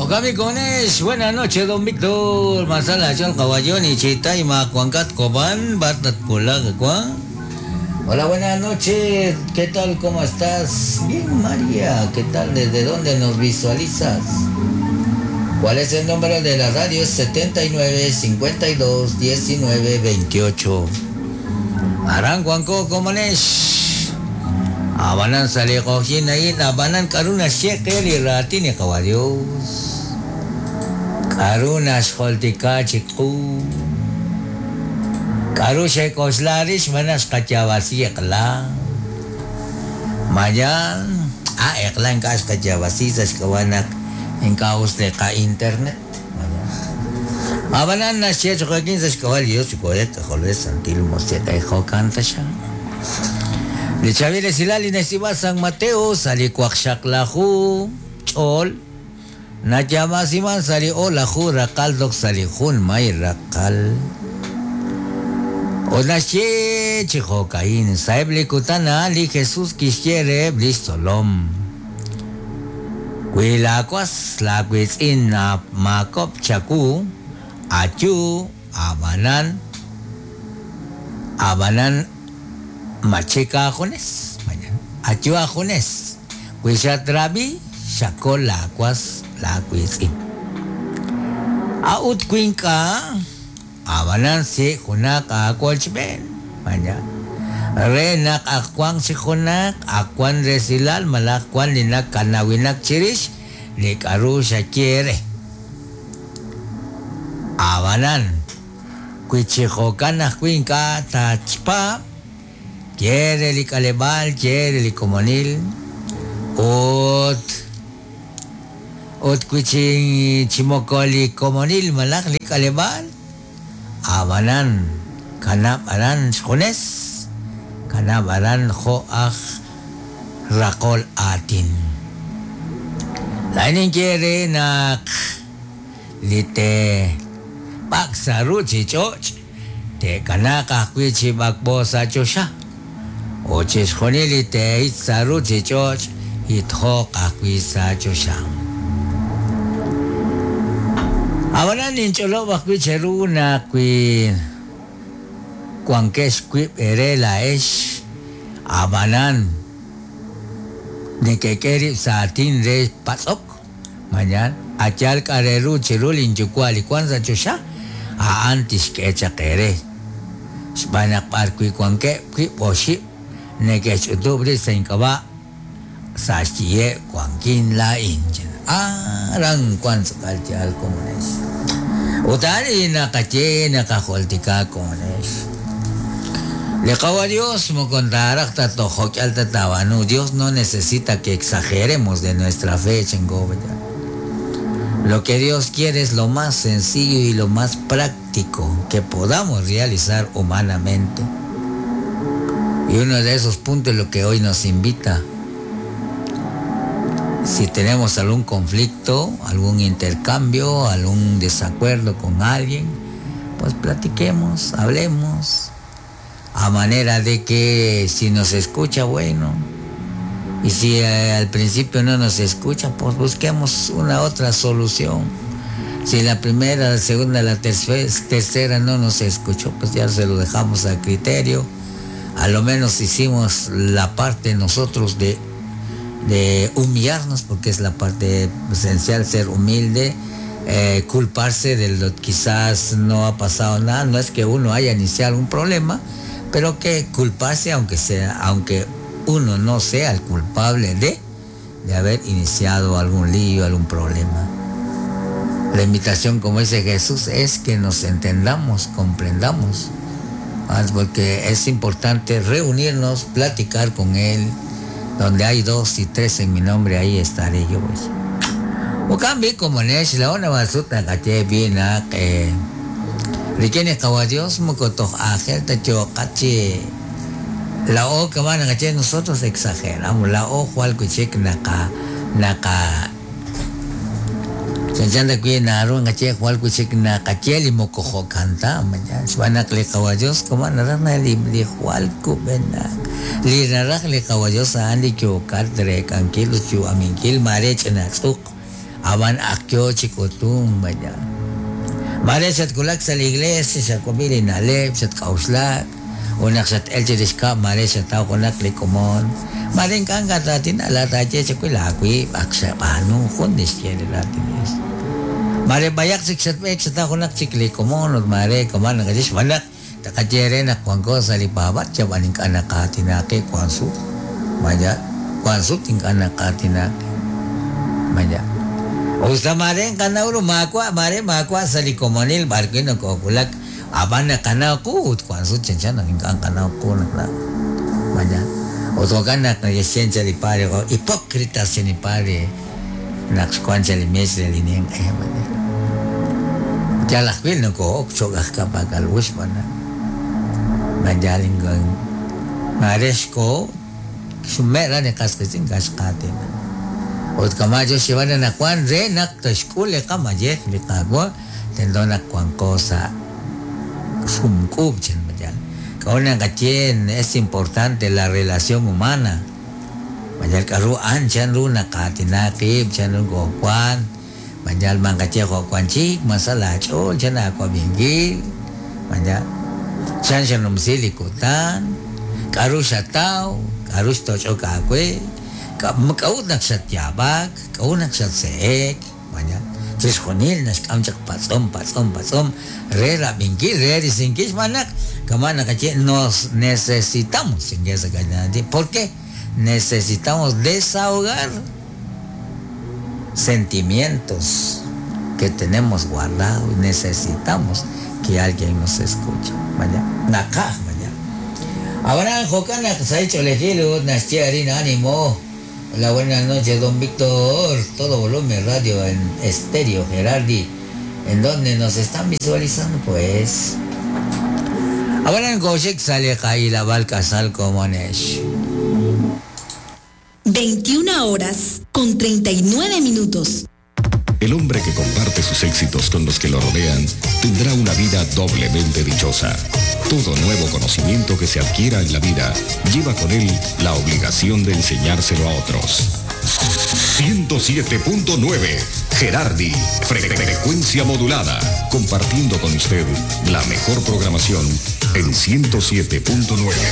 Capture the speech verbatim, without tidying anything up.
Okami buenas noches, don Víctor. Masala, Chol, Cabayón y Chitayma, Cuancat, Cobán, Batat, Pulac, Hola, buenas noches. ¿Qué tal? ¿Cómo estás? Bien, María. ¿Qué tal? ¿Desde dónde nos visualizas? ¿Cuál es el número de la radio? Es setenta y nueve, cincuenta y dos, diecinueve, veintiocho. Aran, Cuanco, Comanesh. Abanan sale cojina y abanan karuna shekel y ratini caballos. Karuna xoltika chiku. Karushe koslarish manas kachavasi ekla. Mayan a ekla en kas kachavasi sashkawanak en caos de ka internet. Abanan na shech joaquín sashkawal Dios chicoret joles santil moseta hijo cantasha. De Chavires Hilali Nesiba San Mateo sali kuaxaklahu chol. Nachamasiman sali olahu rakal dok sali jun may rakal. Onache chijocaín saebli kutana li Jesús quisiere blisolom. Cuilacuas la cuitzin na makop chaku achu abanan abanan machica ajones achu ajones cuichatrabi chacolacuas la cuitzin. Aut cuinca abanan si junak akwalchben maña renak akwan si junak akwan resilal malakwan linak kanawinak chirish likarusha quiere abanan kuichijokan cuinca tachpa quiere likalebal quiere likomonil ot ot kuichin chimokoli komonil malak likalebal abanan kanab aran jones kanab aran joaj rakol atin lainin quiere nak lite paksaru chichoch te kanaka kuichi bakbosa chosha oches jonili te itsaru chichoch itjo kakuisa chosha abanan nincholo bakwicheru na kui cuanques kui erela es abanan de que queri satin de pasok mañana achal kareru chirulin chukwali kwanza chosha a antes que echa quere spanak parkui cuanque kui poshi ne que chutubre se incaba sachie cuanquin la inchen aran kwanza kalchal comunes utari nakache nakajoltika comunes le cago a Dios mo contarakta tojokyalta tabanu. Dios no necesita que exageremos de nuestra fe, chengo. Lo que Dios quiere es lo más sencillo y lo más práctico que podamos realizar humanamente. Y uno de esos puntos es lo que hoy nos invita. Si tenemos algún conflicto, algún intercambio, algún desacuerdo con alguien, pues platiquemos, hablemos, a manera de que si nos escucha, bueno, y si eh, al principio no nos escucha, pues busquemos una otra solución. Si la primera, la segunda, la tercera, tercera no nos escuchó, pues ya se lo dejamos a criterio. A lo menos hicimos la parte nosotros de, de humillarnos, porque es la parte esencial, ser humilde, eh, culparse de lo que quizás no ha pasado nada. No es que uno haya iniciado un problema, pero que culparse, aunque sea, aunque uno no sea el culpable de, de haber iniciado algún lío, algún problema. La invitación, como dice Jesús, es que nos entendamos, comprendamos, porque es importante reunirnos, platicar con Él. Donde hay dos y tres en mi nombre, ahí estaré yo. Pues. O cambio como nesh la ona basuta caché bien a que riquene caballos mocoto ángel tacho caché la o que van a caché nosotros exageramos la o cual cuchek naka naka chanchanda que naru ngache cual cuchek naka cheli mocojo canta mañana van a que caballos como nada li li cual cubena li naraj li caballos andi que ocar tre canquilo chu aminquil marech na tzuk Aban ak yo chi k'utum vaya. Mare xatwulak sa' li iglesia xawab'i li na'leb' xatk'a'uxlak ut naq xat-el chirix kab'l mare xataw junaq li komon mare ink'a' nkatraatina laataaye chawil aawib' ak xab'aanu jun li xye li raatin Dios. Mare b'ayaq chik xatb'eek xataw junaq chik li komon ut mare kama naqaye xb'aan naq taqaye re naq wanko sa' li paab'aal chab'an ink'a' naqaatinaqi wan sut maya wan sut ink'a' naqaatinaqi maya. Usta mare nqanaw ru maawa' mare maawa' sa' li komonil b'ar wi' nokowulak ab'an naqanaw qu ut wan sut chanchan naq ink'a' nqanaw qu naq la maya. Ut jo'kan naq nake'xye cha li padre hipócritas che li padre naq xwan cha li mes re li ninq'e maya. Yal ajwi' noko'ok cho'q aj ka'pak'al u xb'aan naq maya mare xko xme'ra li qas qiitz'in ink'a' xqaatina. Ut kama yo xyeeb'al naq wan re naq toxk'ul li qamayej li Qaawa' tento naq wanko sa' sumk'uub' chan maya. K'a'ut naqaye es importante la relación humana. Maya k'a'ru an chan ru naqaatina qib' chan ru ko'wan maya manqaye jo'wan chik masa laach'ool chan aawab'inkil maya chan xanumsi li kutan k'a'ru xataw k'a'ru xtoch'ok aawe k'a'ut naq xatyaab'ak k'a'ut naq xatse'ek maya chixjunil naxk'am chaq patz'om patz'om patz'om re rab'inkil re risinkil xb'aan naq kama naqaye nos necesitamos ¿por qué? Necesitamos desahogar sentimientos que tenemos guardados. Necesitamos que alguien nos escuche. Vaya, naqaj vaya. Ahora jo'kan naq sa' ch'oolejil ut naxye arin ánimo. Hola, buenas noches, don Víctor. Todo volumen radio en estéreo Gerardi, en donde nos están visualizando, pues. Ahora en Koshek sale Kaila Balcazal Comonesh. veintiuna horas con treinta y nueve minutos. El hombre que comparte sus éxitos con los que lo rodean tendrá una vida doblemente dichosa. Todo nuevo conocimiento que se adquiera en la vida lleva con él la obligación de enseñárselo a otros. ciento siete punto nueve Gerardi, frecuencia modulada, compartiendo con usted la mejor programación en ciento siete punto nueve.